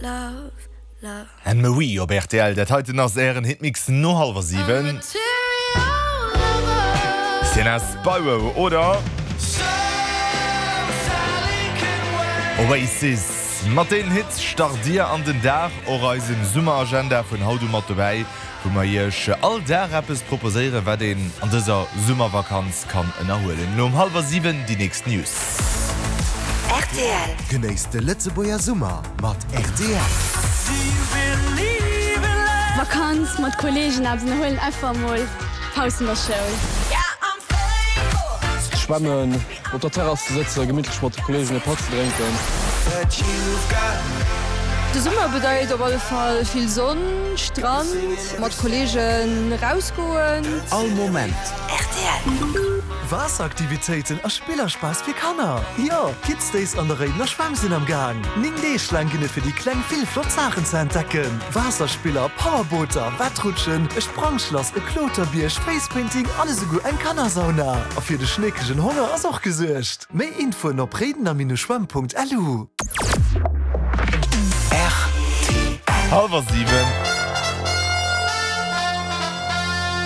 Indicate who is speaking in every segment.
Speaker 1: Love, love.
Speaker 2: Anne Marie op rtl, dat heiten ass ären Hitmix no hallwer 7. Sienna Spiro oder Oasis. Mat deenen Hits start dir an den Dag. Och eisen Summeragenda vun haut u mat dobäi. wou mer iech all Dag eppes proposéieren, wat een an dëser Summervakanz kann ënnerhuelen. Elo um hallwer 7 déi nächst News.
Speaker 3: Rtl.
Speaker 4: Genéisst de Lëtzebuerger Summer mat rtl.
Speaker 5: Vakanz mat Kollegen eppes ënnerhuelen, einfach emol Paus vun der Schoul.
Speaker 6: Schwämmen, Op der Terrass ze sëtzen, gemittlech mat de Kollegen e Patt ze drénken.
Speaker 7: De Summer bedeit op alle Fall vill Sonn, Strand, mat Kollegen erausgoen.
Speaker 4: All Moment.
Speaker 3: Rtl.
Speaker 8: Waasseraktivitéiten a Spillerspass fir Kanner! Jo, Kids Days an der Réidener Schwämm sinn am Gaang! 9 Deeg laang ginn et fir déi Kleng vill flott Saachen ze entdecken, Waasserspiller, Powerbooter, Wettrutschen, e Sprangschlass, e Kloterbierg, Facepainting an esouguer eng Kannersauna. A fir de schneekegen Honger ass och gesuergt. Méi Infoen op réidener-schwämm.lu.
Speaker 4: Rtl.
Speaker 2: Hallwer 7.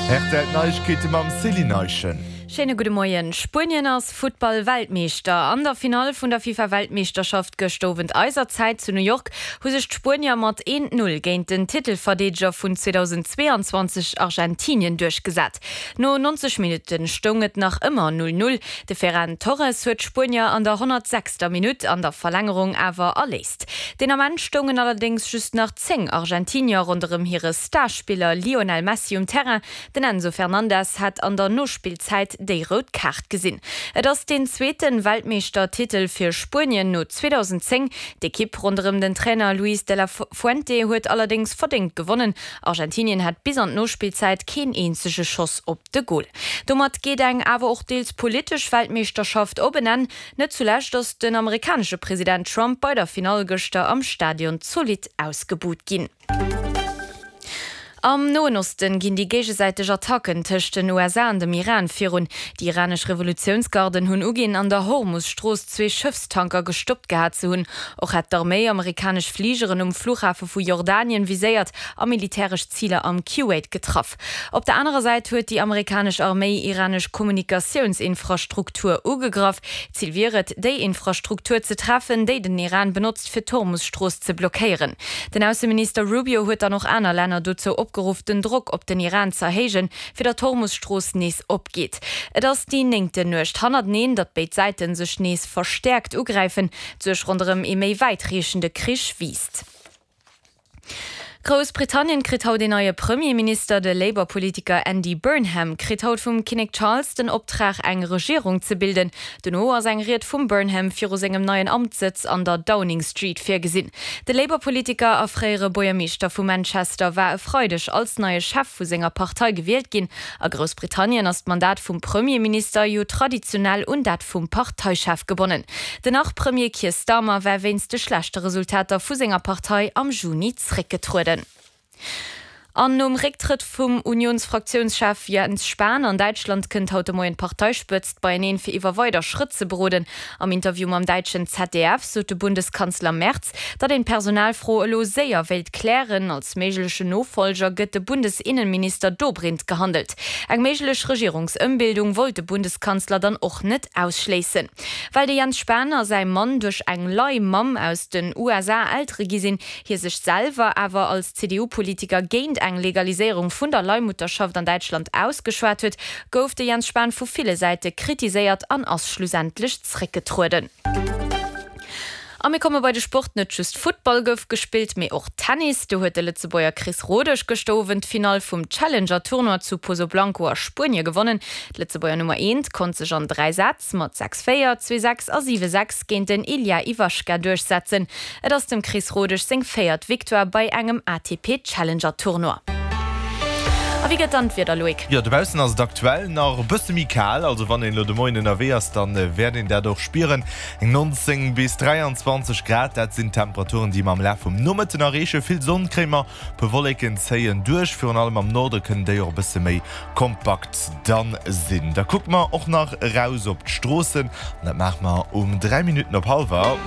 Speaker 2: Rtl Neiegkeete mam Céline Eischen.
Speaker 9: Schéine gudde Moien. Spuenien ass Futtball-Weltmeeschter. An der Finall vun der FIFA-Weltmeeschterschaft gëscht Owend eiser Zäit zu New York hu sech d'Spuenier mat 1, 0 géint den Titelverdeedeger vun 2022 Argentinien duerchgesat. No 90 Minutte stoung et nach ëmmer 0, 0. De Ferran Torres huet d'Spuenier an der 106. Minutt an der Verlängerung awer erléist. Deen Ament stoungen allerdéngs just nach 10 Argentinier ronderëm hire Starspiller Lionel Messi um Terrain. Den Enzo Fernandez hat an der Nospillzäit déi rout Kaart gesinn. Et ass deen zweete Weltmeeschtertitel fir Spuenien no 2010. D'Ekipp ronderëm den Trainer Luis de la Fuente huet allerdéngs verdéngt gewonnen. Argentinien hat bis an d'Nospillzäit keen eenzege Schoss op de Gol. Domat geet eng awer och deels politesch Weltmeeschterschaft op en Enn. Net zulescht ass den amerikanesche President Trump bei der Finall gëschter am Stadion zolidd ausgebuht ginn. Am Noen Osten ginn déi géigesäiteg Attacken tëscht den USA an dem Iran virun. Déi iranesch Revolutiounsgarden hunn uginn, an der Hormus-Strooss zwee Schëffstanker gestoppt gehat ze hunn. Och hätt d'Arméi amerikanesch Fligeren um Flughafe vu Jordanien viséiert a militäresch Ziler am Kuwait getraff. Op der anerer Säit huet déi amerikanesch Arméi iranesch Kommunikatiounsinfrastruktur ugegraff. Zil wier et, déi Infrastruktur ze treffen, déi den Iran benotzt, fir d'Hormus-Strooss ze blockéieren. Den Ausseminister Rubio huet dann och aner Länner dozou opgeruff, den Drock op den Iran z'erhéijen, fir datt d'Hormus-Strooss nees opgeet. Et ass déi néngten Nuecht hannerteneen, datt béid Säite sech nees verstäerkt ugräifen. D'Suerg ronderëm ee méi wäitreechende Krich wiisst. Groussbritannien kritt haut een neie Premierminister. De Labour-Politiker Andy Burnham kritt haut vum Kinnek Charles den Optrag eng Regierung ze bilden. Dono ass eng Ried vum Burnham viru sengem neien Amtssëtz an der Downing Street virgesinn. De Labour-Politiker a fréiere Buergermeeschter vu Manchester war e Freideg als neie Chef vu senger Partei gewielt ginn. A Groussbritannien ass d'Mandat vum Premierminister jo traditionell un dat vum Parteichef gebonnen. Den Nach-Premier Keir Starmer war wéinst de schlechte Resultater vu senger Partei am Juni zréckgetrueden. An nom Récktrëtt vum Unionsfraktiounschef Jens Spahn an Däitschland kënnt haut de Moien d'Parteispëtzt beieneen, fir iwwer weider Schrëtt ze beroden. Am Interview mam däitschen ZDF sot de Bundeskanzler Merz, datt een d'Personalfro elo séier wéilt klären. Als méiglechen Nofollger gëtt de Bundesinnenminister Dobrindt gehandelt. Eng méiglech Regierungsëmbildung wollt de Bundeskanzler dann och net ausschléissen. Well de Jens Spahn a säi Mann duerch eng Leihmamm aus den USA Eltere gi sinn, hie sech selwer awer als CDU-Politiker géint eng Legaliséierung vun der Leihmutterschaft an Däitschland ausgeschwat huet, gouf de Jens Spahn vu ville Säite kritiséiert an ass schlussendlech zréckgetrueden. A mir komme bei de Sport, Net just Futtball gouf gespillt, mee och Tennis. Do huet de Lëtzebuerger Chris Rodesch gëschter Owend d'Finall vum Challenger-Tournoi zu Pozoblanco a Spuenie gewonnen. D'Lëtzebuerger Nummer eent konnt sech an 3 Sätz mat 6, 4, 2, 6 a 7, 6 géint den Ilya Ivashka duerchsetzen. Et ass dem Chris Rodesch seng véiert Victoire bei engem ATP-Challenger-Tournoi. A wéi gëtt dann d'Wieder, Loïc?
Speaker 2: Jo, dobaussen ass et aktuell nach e bësse méi kal, also wann een elo de Moien ënnerwee ass, dann wäert een dat och spieren. Eng 19 bis 23 Grad, dat sinn d'Temperaturen, déi mer am Laf vum Nomëtten erreechen. Vill Sonn kréie mer, puer Wolleken zéien duerch, virun allem am Norde kënnen déi och e bësse méi kompakt dann sinn. Da kucke mer och nach eraus op d'Stroossen, an dat maache mer um 3 Minutten op hallwer.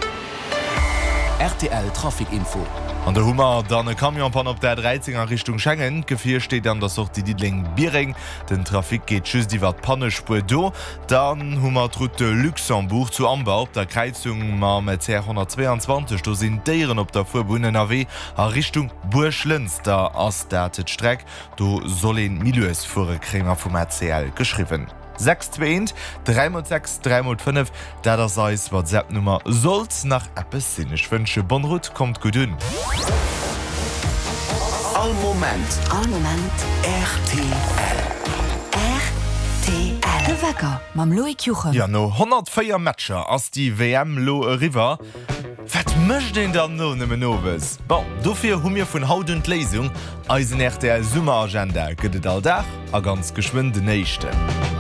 Speaker 4: Rtl Trafic Info.
Speaker 2: An do hu mer dann e Camion-Panne op der A13 a Richtung Schengen. D'Gefier steet an der Sortie Diddeleng-Biereng. Den Trafic geet just iwwer d'Pannespuer do. Dann hu mer d'Route de Luxembourg zu Amber op der Kräizung mam CR 122. Do sinn Déieren op der Fuerbunn ënnerwee. A Richtung Buerglënster ass dat d'Streck. Do soll een méi lues fuere, kréie mer vum ACL geschriwwen. 6 2 1 3 mol 6 3 mol 5, dat ass eis WhatsApp-Nummer. Sollt nach eppes sinn, ech wënsche bonne route, kommt gutt un.
Speaker 4: All Moment.
Speaker 3: All Moment.
Speaker 4: Rtl.
Speaker 3: Rtl. De Wecker mam Loïc Juchem.
Speaker 2: Jo, no 104 Matcher ass déi WM lo eriwwer. Wat mécht een dann no nëmmen owes? Bon, dofir hu mir vun haut un d'Léisung, Eisen rtl Summeragenda gëtt et all Dag a ganz geschwënn den éischten.